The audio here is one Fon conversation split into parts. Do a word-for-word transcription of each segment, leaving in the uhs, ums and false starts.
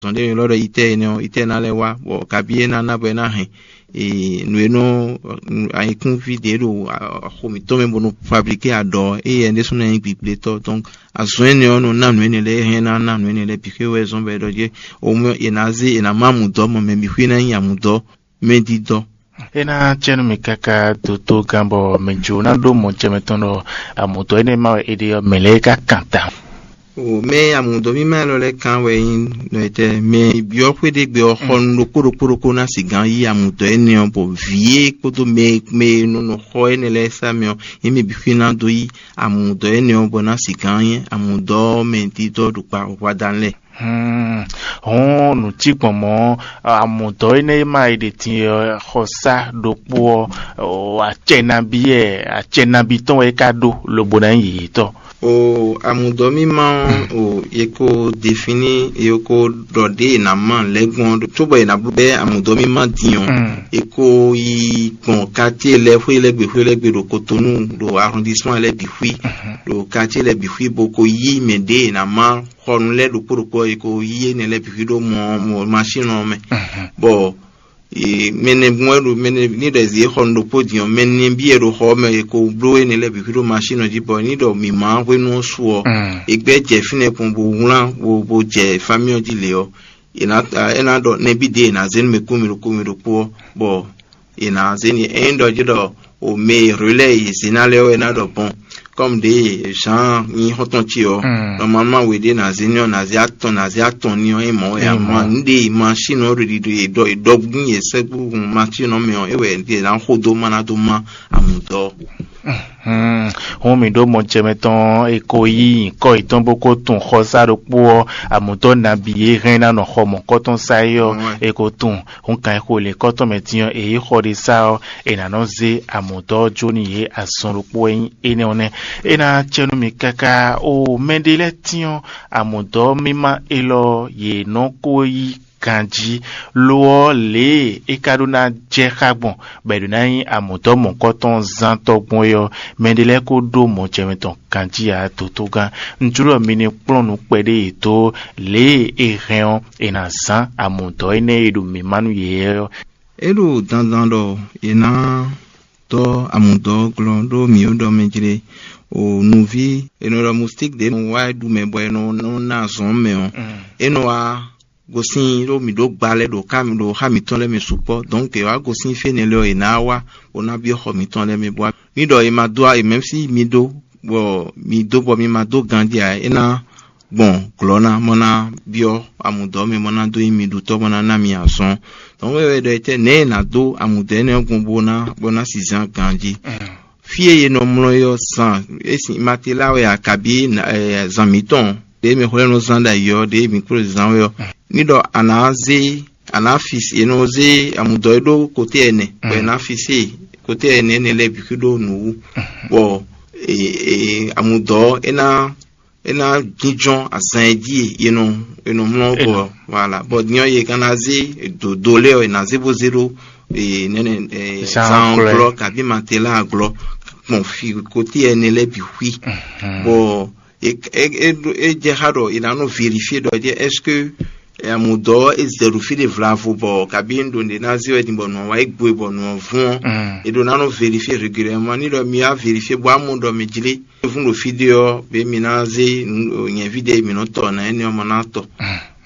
zɔn ɖé e ylɔ́ ɖɔ itɛ́ énɛ́ ɔ́, itɛ́ ná lɛ́ wá, bɔ kabí é ná ná bɔ é ná hɛn nǔ e nɔ ayikúnví ɖě ɖo axo mǐtɔn mɛ bó nɔ fablíké aɖɔ, éyɛ ɖésú ná nyí gbigblětɔ́. Donc azɔn énɛ́ ɔ́ nɔ ná nǔ énɛ́ lɛ́ɛ, é hɛn ná ná nǔ énɛ́ lɛ́ɛ bǐ xwé wɛ zɔ́n bɔ é ɖɔ jɛ òun mɛ è nǎ zé, è nǎ má mǔdɔ́ mɔ mɛ bǐ xwé ná nyí amǔdɔ́ mɛdídɔ́. É ná cɛ́ nú mi káká dótó gán bɔ mɛ jǒ ná ɖó mɔ jɛ mɛtɔn ɖɔ amǔdɔ́ énɛ́ ma wɛ è ɖe ɔ́, mɛ lɛ́ɛ ka kan ta. O mɛ amǔdɔ́ mímá élɔ́ lɛ́ɛ kan wɛ nyí nɔ etɛ mɛ byɔ́ xwé ɖé gbe ɔ́ xɔ nú ɖokpó ɖokpó ɖokpó ná sigán yí amǔdɔ́ énɛ́ ɔ́, bɔ vǐ e kpódó mɛ mɛ e nɔ nɔ xɔ énɛ́ lɛ́ɛ sá mɛ ɔ́, yě mɛ bǐ xwé ná dó yí amǔdɔ́ énɛ́ ɔ́ bɔ ná sigán nyí amǔdɔ́ mɛ dídɔ́ ɖo kpa hwadán lɛ́ɛ. Hmm, hɔn nǔ cí gbɔn mɔ̌, amǔdɔ́ énɛ́ e ma yi ɖe din ɔ́, xɔsá ɖokpó ɔ́, o, acɛ nabí wɛ, acɛ nabí tɔn wɛ é ka ɖó lobo ná nyí yěyětɔn. O amǔdɔ́ mímá ɔ́, o è ko defini, è ko ɖɔ ɖě è nǎ ma lɛ́ gbɔn cóbɔ è nǎ bɛ́ amǔdɔ́ mímá din ɔ́, è ko yi gbɔn katíe lɛ́ɛ xwé lɛ́ɛ gbe xwé lɛ́ɛ gbe ɖo Kotonu ɖo arrondissement lɛ́ɛ bǐ xwí, ɖo katíe lɛ́ɛ bǐ xwí bó ko yí mɛ ɖě è nǎ ma xɔnu lɛ́ɛ ɖokpó ɖokpó ɔ́, è ko yí énɛ́ lɛ́ɛ bǐ xwí ɖó mɔ mɔ masín ɔ́ mɛ, bɔ mɛnɛ gbɔn wɛ ɖo mɛnɛ ní ɖɔ zǐ xɔnu ɖokpó din ɔ́, mɛ nɛbí wɛ ɖo xɔ ɔ́ mɛ, è ko bló énɛ́ lɛ́ɛ bǐ xwí ɖó masín ɔ́ jí, bɔ ní ɖɔ mǐmá hwenu ɔ́ su ɔ́, è gbɛ́ jɛ fínɛ́ kpɔn bó wlán bó bó jɛ famíɔ jí lě ɔ́, è nǎ é ná ɖɔ nɛbí ɖě è nǎ zé nú mɛ kú mì ɖokpó mì ɖokpó ɔ́, bɔ è nǎ zé n'i. Ényí ɖɔ jí ɖɔ o mɛ e relais e zě ná lɛ́ɛ wɛ ná ɖɔ bɔn, comme ɖě Jean nyí xɔ́ntɔn ce ɔ́, normalement we ɖé ná zé ní ɔ́, ná zé atɔn ná zé atɔn ní ɔ́, é mɔ̌ wɛ amɔ nǔ ɖe e machine ɔ́ ɖo ɖiɖi e ɖɔ e ɖɔ gbín e sɛ́gbúhun machine ɔ́ mɛ ɔ́, é wɛ è ná xo dó má ná dó má amǔdɔ́. Hɔn mǐ ɖó mɔ jɛmɛ tɔn e ko yí nyǐkɔ yětɔn bó ko tunwun xɔsá ɖokpó ɔ́, amǔdɔ́ nabí e hɛn ná nɔ xɔ mɔ̌kɔtɔn sá é ɔ́, è ko tunwun. Hɔn kan e xo lě kɔ́tɔn mɛ din ɔ́, è yí xɔ ɖé sá ɔ́, è nǎ nɔ zé amǔdɔ́ ɔ́ jó nú yě azɔn ɖokpó wɛ nyí énɛ́ ɔ́ nɛ́. É ná cɛ nú mi káká o mɛɖé lɛ́ɛ tyɔ́n amǔdɔ́ mímá élɔ́ yě nɔ ko yí ganjí, lo ɔ́, lě e é ka ɖó ná jɛ xá gbɔn bɔ è ɖǒ ná nyí amǔdɔ́ mɔ̌kɔtɔn zántɔ́ gbɔn é ɔ́, mɛɖé lɛ́ɛ ko ɖó mɔjɛmɛ tɔn ganjí ǎ. Dotogán, un jló ɖɔ mi ní kplɔ́n nǔ kpɛɖé yětɔn lě e é hɛn ɔ́, è nǎ zán amǔdɔ́ énɛ́ e ɖo mǐmá nú yě ɔ́. É ɖo dandan ɖɔ è nǎ dɔ́ amǔdɔ́ glɔ́ ɖó mǐ ó ɖɔ mɛ jlé o nǔví è nɔ ɖɔ mustík ɖě nɔ wá ɖu mɛ bɔ è nɔ nɔ ná azɔn mɛ ɔ́, é nɔ wá gosín ɖó mǐ ɖó gba lɛ́ɛ ɖo ká ɖo xá mǐtɔn lɛ́ɛ mɛ sukpɔ́. Donc è wá gosín fí énɛ́ lɛ́ɛ ɔ́, è nǎ wá bó ná byɔ́ xɔ mǐtɔn lɛ́ɛ mɛ bɔ ní ɖɔ è ma dó è mɛ̌ sí mi ɖó bɔ mi dó bɔ mi ma dó ganjí ǎ, é ná gbɔn glɔ̌ ná mɔ ná byɔ́ amǔdɔ́ mɛ mɔ ná dó nyí mi ɖutɔ́ mɔ ná ná mi azɔn. Donc é wɛ ɖɔ etɛ́ nɛ̌ è nǎ dó amǔdɔ́ énɛ́ ɔ́ gbɔn bó ná bó ná si zán ganjí. Fí e è nɔ mlɔ́ é ɔ́ zan é sin Matela wɛ a kabí zan mǐtɔn ɖě mɛ xwlɛ́ nɔ zán ɖo ayǐ ɔ́, ɖě mǐ kplɔ́n zán wɛ ɔ́, ní ɖɔ a nǎ zé a nǎ fi è nɔ zé amǔdɔ́ é ɖó koté ɛnɛ bɔ è nǎ fi sé koté ɛnɛ énɛ́ lɛ́ɛ bǐ xwí ɖó nǔ wú, bɔ amǔdɔ́ é ná é ná jínjɔ́n azan e jí è nɔ è nɔ mlɔ́ bɔ voilà, bɔ din ɔ́ yě ka ná zé dǒdó lɛ́ɛ ɔ́ è nǎ zé bó zé ɖó nɛnɛ zan glɔ́ kabí Matela glɔ́ gbɔn fi koté ɛnɛ lɛ́ɛ bǐ xwí, bɔ é é é é jɛ xá ɖɔ è nǎ nɔ vérifié ɖɔ jɛ est-ce que amǔdɔ́ é zɛ ɖo fí ɖé vlavo bɔ kabí un ɖo nǔɖé ná zé wɛ din bɔ nǔ ɔ́ wá yi gbo e bɔ nǔ ɔ́ vún ɔ́, è ɖo ná nɔ vérifié régulièrement ní ɖɔ mi wá vérifié bɔ amú ɖɔ mi jlé fún ɖo fí ɖé ɔ́, bě mi ná zé nyɛ̌ví ɖé mi nɔ tɔ nǎ énɛ́ ɔ́ mɔ ná tɔ.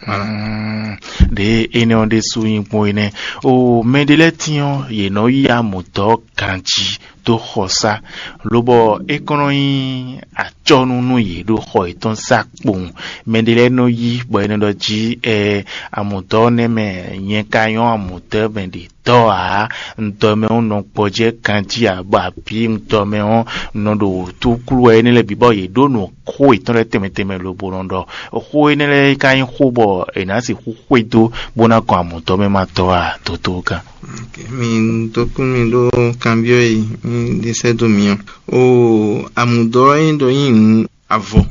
Voilà. Ɖě énɛ́ ɔ́ ɖésú nyí gbɔn énɛ́ o mɛɖé lɛ́ɛ tín ɔ́, yě nɔ yí amǔdɔ́ ganjí dó xɔsá, lobɔ é kɔn nɔ nyí acɔ́nú nú yě ɖo xɔ yětɔn sá kpowun. Mɛɖé lɛ́ɛ nɔ yí bɔ é nɔ ɖɔ jí ɛ amǔdɔ́ nɛ́ mɛ nyɛ ka nyɔ́ amǔdɔ́ mɛ ɖě tɔ́ ǎ, un dɔ mɛ ɔ́ nɔ gbɔjɛ́ ganjí ǎ, bɔ abǐ un dɔ mɛ ɔ́ nɔ ɖo wǔtúklú wɛ énɛ́ lɛ́ɛ bǐ bɔ yě ɖó nǔ xó yětɔn lɛ́ɛ tɛnmɛ tɛnmɛ lobo nɔ ɖɔ xó énɛ́ lɛ́ɛ ka nyí xó bɔ è nǎ sixú xwedó bó ná gɔn amǔdɔ́ mɛ ma tɔ́ ǎ. Dotogán. Ok, mi dokún mi ɖó kanbyɔ́ e mi ɖe sɛ́ dó mi ɔ́. O amǔdɔ́ e ɖɔ nyí nǔ avɔ,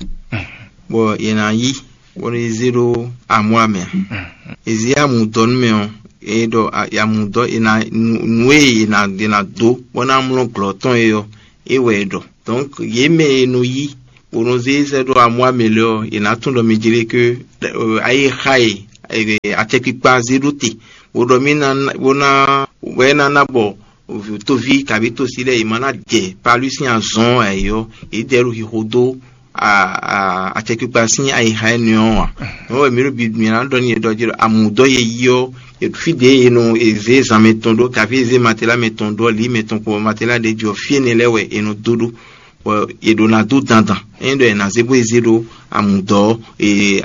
bɔ è nǎ yí bɔ è zé ɖó amú amɛ ǎ. È zé amǔdɔ́ nú mɛ ɔ́, è ɖɔ amǔdɔ́ è nǎ nǔ e è nǎ è nǎ dó bɔ ná mlɔ́ glɔ̌ tɔn é ɔ́, é wɛ è ɖɔ. Donc yě mɛ e nɔ yí bó nɔ zé sɛ́ ɖó amú amɛ lɛ́ɛ ɔ́, è nǎ tunwun ɖɔ mi jlé ké ayé xa e acɛkpikpa zé ɖó te, bó ɖɔ mì ná bó ná bɔ tóví kabí tósi lɛ́ɛ yě ma ná jɛ palú sín azɔn ɔ́ ǎ é ɔ́, yě dɛ ɖo xixo dó acɛkpikpa sín ayixa énɛ́ ɔ́ ǎ. Nɔ́ wɛ mǐ ɖo bibi mǐ ná ɖɔ n'i ɖɔ jí ɖɔ amǔdɔ́ e yí ɔ́, fí ɖě e nɔ è zě zan mɛtɔn ɖó, kaví è zě matela mɛtɔn ɖó, lǐ mɛtɔn kpó matela ɖě jí ɔ́, fí énɛ́ lɛ́ɛ wɛ è nɔ dó ɖó, bɔ è ɖǒ ná dó dandan. Ényí ɖɔ è nǎ zé bó e zé ɖó amǔdɔ́,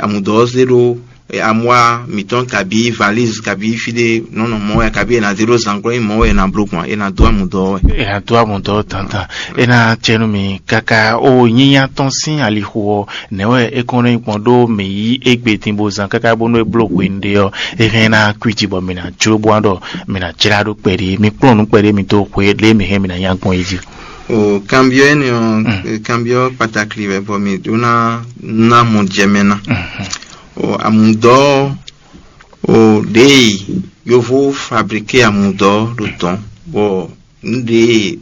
amǔdɔ́ ɔ́ zé ɖó amwá mǐtɔn kabí valíz kabí fí ɖé nɔ́ nɔ mɔ̌ wɛ, kabí è nǎ zé ɖó zǎngbɔ́, nyí mɔ̌ wɛ è nǎ bló gbɔn, è nǎ dó amǔdɔ́ ɔ́ wɛ. È nǎ dó amǔdɔ́ dandan. É ná acɛ nú mi káká ó nyínyá tɔn sín alixo ɔ́, nɛ̌ wɛ é kɔn nɔ nyí gbɔn ɖó mǐ yí égbé din bó zán káká bónú é bló hwenu ɖé ɔ́, é hɛn ná kwíji bɔ mǐ ná jló bó wá ɖɔ mǐ ná jlá ɖó kpɛɖé, mi kplɔ́n nǔ kpɛɖé mi dó xwe lě mǐ hɛn mǐ ná nya gbɔn é jí. O kanbyɔ́ énɛ́ ɔ́, kanbyɔ́ kpatakli wɛ bɔ mǐ ɖó ná ná mɔ jɛ mɛ ná. O amǔdɔ́ o ɖěe yovó fablíké amǔdɔ́ ɖo tɔn, bɔ nǔ ɖě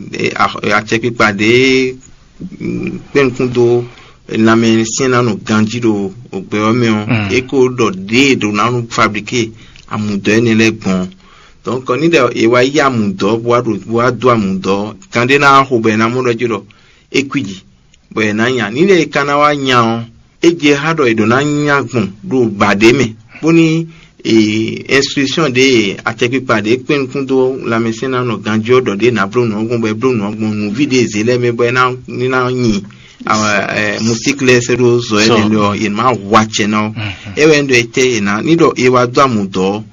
acɛkpikpa ɖě kpɛ́nukún dó lanmɛsyɛ́n ná nɔ ganjí ɖo gbɛ ɔ́ mɛ ɔ́, é ko ɖɔ ɖěe ɖo ná nɔ fablíké amǔdɔ́ énɛ́ lɛ́ɛ gbɔn. Donc ní ɖɔ è wá yí amǔdɔ́ bó wá ɖo bó wá dó amǔdɔ́, kan ɖé ná wá xo bɔ è nǎ mɔ ɖɔ jí ɖɔ é kwíji, bɔ è nǎ nya. Ní ɖɔ è ka ná wá nya ɔ́, é jɛ xá ɖɔ è ɖǒ ná nya gbɔn ɖo bǎ ɖé mɛ, bóní instruction ɖě acɛkpikpa ɖě kpɛ́n nukún dó lanmɛsɛn ná nɔ ganjí ɔ́ ɖɔ ɖě nǎ bló nǔ ɔ́ gbɔn, bɔ é bló nǔ ɔ́ gbɔn nǔví ɖě zě lɛ́ɛ mɛ, bɔ é ná ní ná nyi musík lɛ́ɛ sɛ́ ɖó zɔ énɛ́ lɛ́ɛ ɔ́, yě má hu acɛ ná ɔ́. É wɛ un ɖɔ etɛ́ è nǎ ní ɖɔ è wá dó amǔdɔ́ ɔ́,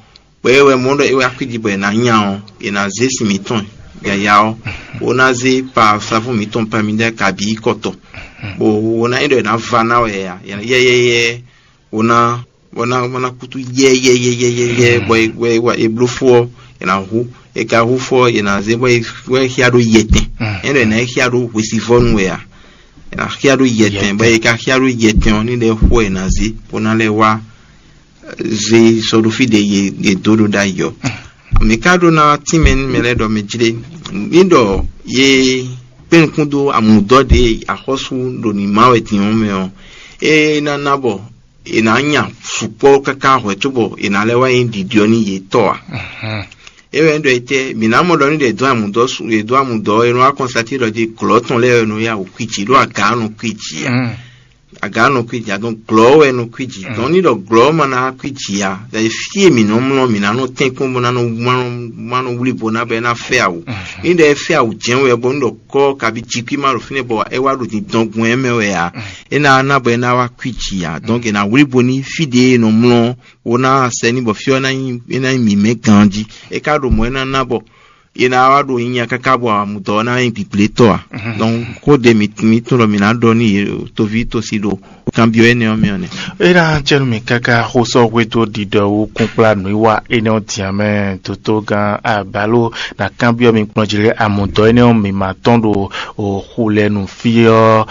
bɔ é wɛ mɔ̌ ɖɔ é wá kwíji bɔ è nǎ nya ɔ́, è nǎ zé sin mǐtɔn yǎyá ɔ́, bó ná zé pa savú mǐtɔn pamidá kabǐ kɔtɔ, bó ná nyí ɖɔ è nǎ va ná wɛ ǎ, yɛyɛyɛ bó ná bó ná bó ná kútú yɛyɛyɛyɛyɛ bɔ è bló fó ɔ́, è nǎ hu, è ka hu fó ɔ́, è nǎ zé bɔ é xyá ɖó yɛtɛn. É ɖɔ è nǎ xyá ɖó hwesivɔ́nu wɛ ǎ, è nǎ xyá ɖó yɛtɛn, bɔ è ka xyá ɖó yɛtɛn ɔ́, ní ɖɛ xó è nǎ zé bó ná lɛ́ wá zé sɔ́ ɖó fí ɖě yě dó ɖo ɖ'ayǐ ɔ́. Mǐ ka ɖó ná tínmɛ nú mɛ lɛ́ɛ ɖɔ mɛ jlé ní ɖɔ yě kpɛ́n nukún dó amǔdɔ́ ɖě axɔ́sú ɖo nǐ má wɛ din ɔ́ mɛ ɔ́, é ná ná bɔ è nǎ nya sukpɔ́ káká hwɛ̌ cóbɔ è nǎ lɛ́ wá nyí ɖiɖi ɔ́ nú yě tɔ́ ǎ. É wɛ nyí ɖɔ etɛ́ mǐ ná mɔ ɖɔ nú ɖě dó amǔdɔ́ su è dó amǔdɔ́ ɔ́, è nɔ wá kɔnstatín ɖɔ jí glɔ̌ tɔn lɛ́ɛ wɛ nɔ yá wǔ kwíji ɖó aga ɔ́ nɔ kwíji ǎ. Aga ɔ́ nɔ kwíji ǎ, dɔn glɔ̌ wɛ nɔ kwíji. Dɔn ní ɖɔ glɔ̌ ma ná kwíji ǎ, ɖɔ fí e mǐ nɔ mlɔ́ mǐ ná nɔ tɛ́nkpɔ́n bó ná nɔ má nɔ wlí bo ná bɔ é ná fɛ́ awu. Ní ɖɔ é fɛ́ awu jɛ́n wɛ bɔ ní ɖɔ kɔ́ kabi jí kwí má ɖo fínɛ́ bɔ é wá ɖo dindɔn gbɔn ɛ mɛ wɛ ǎ. É ná ná bɔ é ná wá kwíji ǎ. Dɔnke è nǎ wlí bo ní fí ɖě è nɔ mlɔ́ bó ná sɛ ní bɔ fí ɔ́ é ná nyí mǐmɛ́ ganjí. É ka ɖo mɔ̌ é ná ná bɔ è nǎ wá ɖo nyinya káká bɔ amutɔ ɔ́ ná nyí gbǐgblétɔ́ ǎ. Donc xó ɖě mǐ mǐ tunwun ɖɔ mǐ ná ɖɔ nú yě toví tosi ɖo kanbyɔ́ énɛ́ ɔ́ mɛ ɔ́ nɛ́. É ná jɛ nú mì káká xó sɔ́ hwedó ɖiɖɔ wú kúnkplá nǔwiwa énɛ́ ɔ́ din ǎ mɛ. Dotó gán Abalo ná kanbyɔ́ mi kplɔ́n jí lé amutɔ énɛ́ ɔ́ mǐ ma tɔ́n ɖo xu lɛ nu fí ɔ́,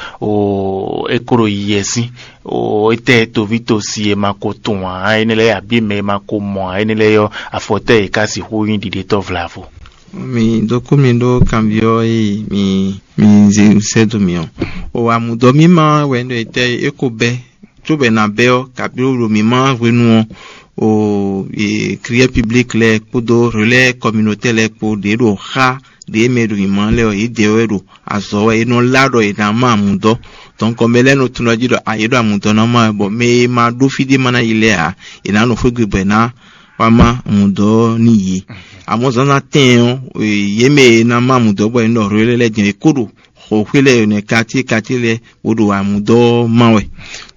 é ko ɖo yiyɛ sín. Étɛ́ toví tosi e ma ko tunwun ǎ énɛ́ lɛ́ɛ abǐ mɛ e ma ko mɔ ǎ énɛ́ lɛ́ɛ ɔ́, afɔtɛ́ e ka sixú nyí ɖiɖetɔ́ vlavo? Mi dó kú mi ɖó kanbyɔ́ e mi mi zé sɛ́ dó mi ɔ́. O amudɔ mímá wɛ ɖo etɛ́ e ko bɛ́, cóbɔ è nǎ bɛ́ ɔ́, kabí ɖo mǐmá hwenu ɔ́, o e client public lɛ́ɛ kpódó relais communautaire lɛ́ɛ kpó ɖě ɖo xá ɖě mɛ ɖo mǐmá lɛ́ɛ ɔ́, yědɛɛ wɛ ɖo azɔ̌ wɛ, è nɔ lá ɖɔ è nǎ má amudɔ. Donc mɛ lɛ́ɛ nɔ tunwun ɖɔ jí ɖɔ a yě ɖo amudɔ ná má wɛ, bɔ mɛ e ma ɖó fí ɖé ma ná yi lɛ́ɛ ǎ, è nǎ nɔ xwé gbe bɔ è nǎ wá má amudɔ ɔ́ n'i yě. Amɔ̌ zǎnzǎn tɛɛn ɔ́, yě mɛ e ná má amudɔ bɔ è nɔ ɖɔ relais lɛ́ɛ din ɔ́, è kó ɖo xɔxwé lɛ́ɛ nɛ́ quartier quartier lɛ́ɛ bó ɖo amudɔ má wɛ.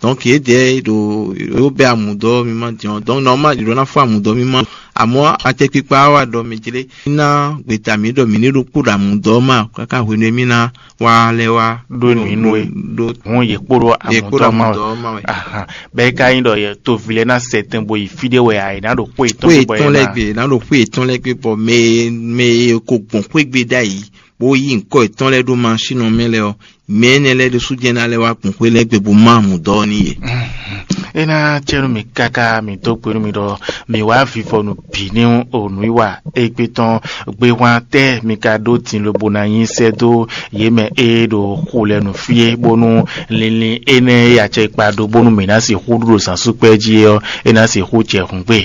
Donc yědɛɛ ɖo yó bɛ́ amudɔ mímá din ɔ́, donc normal yě ɖó ná fɔ amudɔ mímá. Amɔ̌ atɛkpikpa wá ɖɔ mɛ jlé ná gbeta mǐ ɖɔ mǐ ní ɖó kpó ɖo amudɔ má káká hwenu e mí ná wá lɛ́ wá ɖó nǔ nú we ɖó hɔn yě kpó ɖó yě kpó ɖo amudɔ má wɛ. Amudɔ má wɛ. Ahan. Bɛ́ é ka nyí ɖɔ yɛ toví lɛ́ɛ ná sɛ tɛn bo yi fí ɖé wɛ ǎ, è nǎ ɖo xwé Xwé yětɔn bɔ yě etɔn lɛ́ɛ ná gbe, è nǎ ɖo xwé etɔn lɛ́ɛ gbe bɔ mɛ e mɛ e ko gbɔn xwé gbe ɖ'ayǐ bó yí ŋkɔ yětɔn lɛ́ɛ ɖó masín ɔ́ mɛ lɛ́ɛ ɔ́, mɛ énɛ́ lɛ́ɛ ɖésú jɛ́n ná lɛ́ wá gbɔn xwé lɛ́ɛ gbe bó má amudɔ ɔ́ n'i yě. É ná cɛ nú mì káká mì dó gbe nú mi ɖɔ mì wá vivɔnu bǐ ní o nǔwiwa égbé tɔn. Gbéhwan tɛ́ mi ka ɖó din lobo ná nyi sɛ́ dó yě mɛ e ɖo xu lɛ nǔ fí é, bónú linlin énɛ́ e acɛ kpa ɖó bónú mǐ ná sixú ɖu ɖo zǎnsúkpɛ́ jí é ɔ́, é ná sixú jɛ hǔn gbe